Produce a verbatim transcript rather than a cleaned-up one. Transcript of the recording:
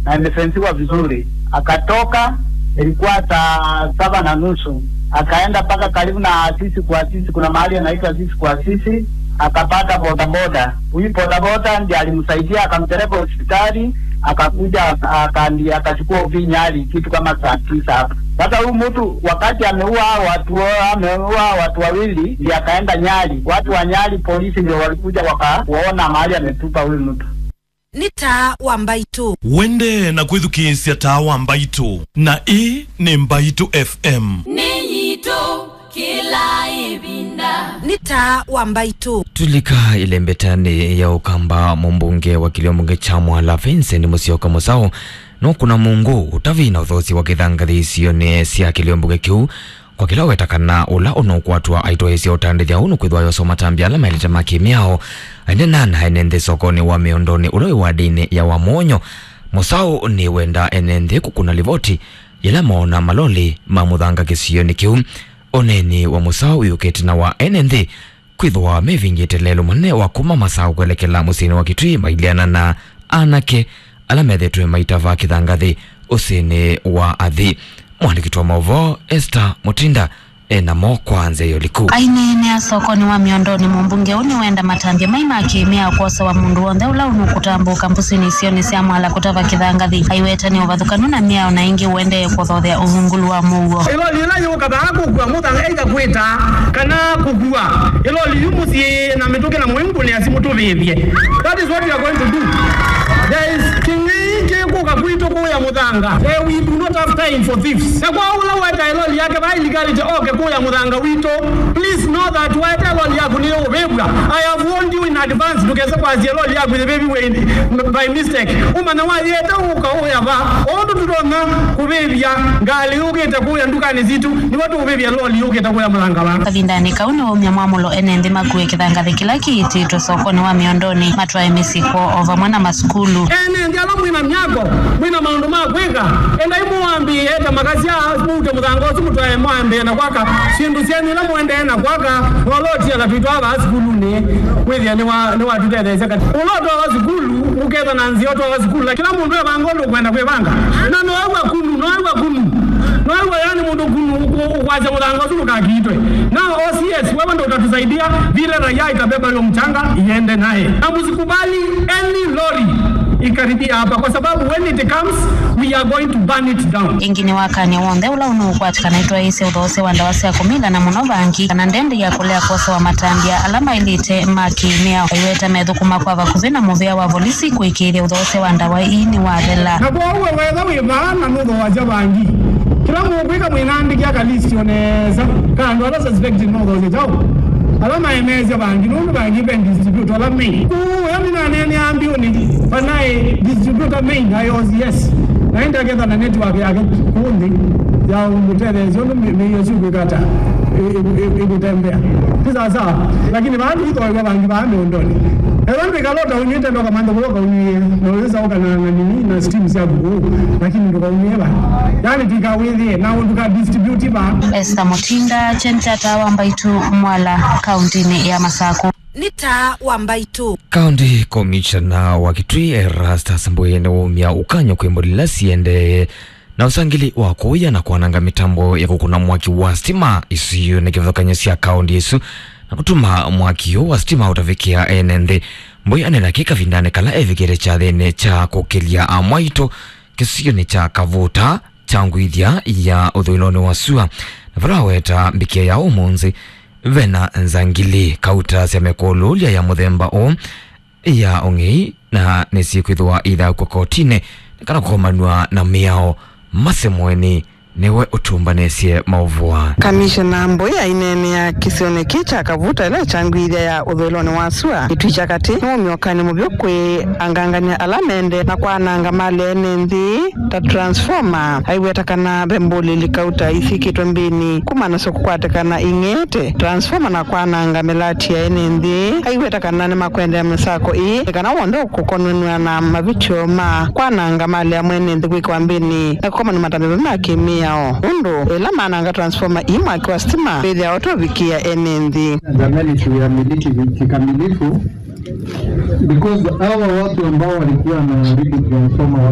na imefensiwa vizuri. Akatoka, ilikuwa saa saba na nusu, akaenda mpaka karibu na Asisi kwa Asisi, kuna mahali anaitwa Asisi kwa Asisi, akapata bodaboda. Huyu bodaboda ndiye alimsaidia, akampeleka hospitali, akakuja, akaambia, akachukua uvi Nyali kitu kama saa tisa hapo. Sasa huyu mtu, wakati ameua hao watu, ameua watu wawili, ndiye akaenda Nyali. Watu wa Nyali polisi ndio walikuja wakaona mahali ametupa huyu mtu. Nĩ taa wa Mbaitũ. Wende na kwĩthukĩĩsya taa wa Mbaitũ, na ĩĩ nĩ Mbaitũ F M. Nĩ yitũ kĩla ĩvinda. Nĩ taa wa Mbaitũ. Tulika ĩlembetanĩ ya Ũkamba, mũmbunge wa kĩlio mbunge kya Mwala Vincent Musyoka Mũsaũ nũkũna mũngũ ũtavĩ na ũthosi wa kĩthangathĩ isionĩ sya kĩlio mbunge kĩu, kwa kĩla weta kana ũla ũnũkwatwa aitwaĩĩsya ũtandĩthya ũũ nũkwĩthwa yosa matambya ala maĩlĩte ma kĩmĩao. Ainena na ene nthĩ sokonĩ wa Mĩondonĩ ũla wĩ wadĩnĩ ya Wamwonyo, Mũsaũ nĩwenda ene nthĩ kũkũna livoti yĩla moona maloli ma mũthanga kĩsionĩ kĩu. Ũneeni wa Mũsaũ wĩũkĩte na wa ene nthĩ kwĩthĩwa mevingĩte lelũ mũnene wa kuma Masaũ kwelekela mũsyĩnĩ wa Kitui mailyana na anake ala methĩtwe maitava kĩthangathĩ ũsĩnĩ wa athi. Mwandĩki wa maũvoo Esther Mutinda e namo kwa nzĩa ya ũliku. Aineenea sokonĩ wa Mĩondonĩ, mũmbunge ũũ nĩwenda matambya mai ma kĩmĩao kwosewa mũndũ w'onthe ũla ũnũkũtambũka mbũsinĩ isionĩ sya Mwala kũtava kĩthangathĩ. Aiweta nĩ ũvathũkanu na mĩao na ĩngĩ ũendee kũthothea ũvungũlu wa mũuo. Ĩloli ĩla yũka vaa kũkua mũthanga either kwĩta kana kũkua ĩloli yu mũsyĩ na mĩtũkĩ na mũimbu nĩ asimũtũvĩvye. That is what we are going to do. There is kĩng'ei kĩkũka kwitũ kũya mũthanga. Eh, we do not have time for thieves. Na kwa ũla weta ĩloli yake vaa illegality oke kũya mũthanga witũ, please know that weta ĩloli yaku nĩ ũvĩvw'a. I have warned you in advance, ndũkese kwasya ĩloli yaku yĩvĩviwe in, by mistake. Ũmanya wayĩte ũka ũya va. Ũndũ tũtonya kũvĩvya ngalĩ yũkĩte kũya ndukanĩ sitũ, nĩw'o tũũvĩvya loli yũkĩte kũya mũthanga va. Kavindanĩ kau nĩwaumya mwamũlo ene nthĩ makue kĩthangathĩ kĩla kĩitĩtwe sokonĩ wa Mĩondonĩ matwae mĩsyĩ kwoo o vamwe na masukulu. Ene nthĩ ala mwĩna myako, mwĩna maũndũ ma kwĩka, endai mũwambĩĩe ta makasya, mũute mũthanga ũsu mũtwae mwambĩĩe na kwaka syĩndũ syenyu ila mũendee na kwaka, na ũla ũtiala twĩtwaa vaa sukulunĩ, wĩthĩa nĩwa-, nĩwatũtetheesya kati. Ũla ũtwawa sukulu, ũkethwa na nzĩa ũtwawa sukulu, na kĩla mũndũ evanga ũndũ ũkwenda kwĩvanga. Na noew'a kunu, noew'a kunu. Noew'a yani mũndũ kunu ũkũ-, ũkwasya mũthanga ũsu ndũkakiitwe. Na O C S, wewe ndo utatusaidia vile raia itabeba hiyo mchanga iende naye. Na msikubali any lorry ikaribia hapa, kwa sababu when it comes, we are going to burn it down. Ĩngĩ nĩwakany'a w'onthe ũla ũnũũkwatĩkana aitwaĩĩsye ũthoosya wa ndawa sya kũmila na mũno vangi kana ndendi ya kũlea kwosewa matambya ala maĩlĩte ma kĩmĩao. Aiweta methũkũma kwa vakuvĩ na mũvĩa wa volisi kũĩkĩĩthya ũthoosya wa ndawa ii nĩwathela. Na kwoou we wetha wĩ vaa na nũthoosya vangi, kĩla mũkwĩka mwĩnandĩkĩa ka list o nesa ka andũ ala suspected no ũthoosya kyaũ, ala maemeesya vangi, nũndũ vangi ve distributor ala main. Kũu ũyo nĩnaneenea mbiũnĩ vanaĩ distributor main aĩ O C S, na ĩndĩ aketha na network yake kũũ nthĩ ya ũmũtetheesya ũndũ mĩ-, mĩio syũkwĩka ata ĩ-, ĩ-, ĩ-, ĩkũtembea. Ti sawasawa. Lakini vaa tũithoew'a vangi vaa mĩũndonĩ. Ethwa ndwĩkala ũtaũnyw'ĩte ndoka mantha kũla ũkaũnyw'ĩe, na ũyĩsaũka na, na nini, na stream syaku kũu, lakini ndũkaũnyw'ĩe vaa. Yaani tũikawĩthĩe na ndũka distribute vaa. Esther Mutinda, Kyeni kya Taa wa Mbaitũ, Mwala, kauntinĩ ya Masakũ. Nĩ Taa wa Mbaitũ. County Commissioner wa Kitui Erastus Mbũi nĩwaumya ũkany'o kwĩ mbũli ila siendee na ũsangĩli wa kũya na kwananga mĩtambo ya kũkũna mwaki wa stima isionĩ kĩvathũkany'o sya kaunti ĩsu, na kũtuma mwaki ũũ wa stima ũtavikĩa ene nthĩ. Mbũi aneena kĩ kavindanĩ kala evikĩte kyathĩnĩ kya kũkĩlya amwaitũ kĩsionĩ kya Kavuta, Kyangwithya ya ũthũĩlonĩ wa sua, na vala aweta mbikĩa ya ũmũnthĩ vena nzangili kauta sya mekũlũlya ya mũthemba ũũ ya ũng'ei, na nĩsikwĩthĩwa ithaũkw'a kotinĩ nĩ kana kũkomanw'a na mĩao. Mase Mweni nĩwe ũtũmbanĩsye maũvoo. Kamishena Mbũi aineenea kĩsionĩ kĩ kya Kavuta ĩla ĩkyangwĩthya ya ũthũĩlonĩ wa sua, Kitui kya Katĩ, nĩwaumya ũkany'o mũvyũ kwĩ angangany'a ala mende na kwananga malĩ ya ene nthĩ ta transformer. Aiweta kana ve mbũlĩli kauta isikĩtwe mbĩnĩ kuma nasyo kũkwatĩkana ing'ete transformer na kwananga mĩlati ya ene nthĩ. Aiweta kana nĩmakwendeea mĩsako ĩĩ nĩ kana w'onthe ũkũkonanw'a na mavĩtyo ma kwananga malĩ ya mwene nthĩ kwĩkĩwa mbĩnĩ na kũkomanw'a matambya ma kĩmĩao, nũndũ ĩla mananga transformer ii mwaki wa sitima wĩthĩawa ũtovikĩa ene nthĩ. Jamani, tuiamiliki kikamilifu, because hawa watu ambao walikuwa wanaharibu transformer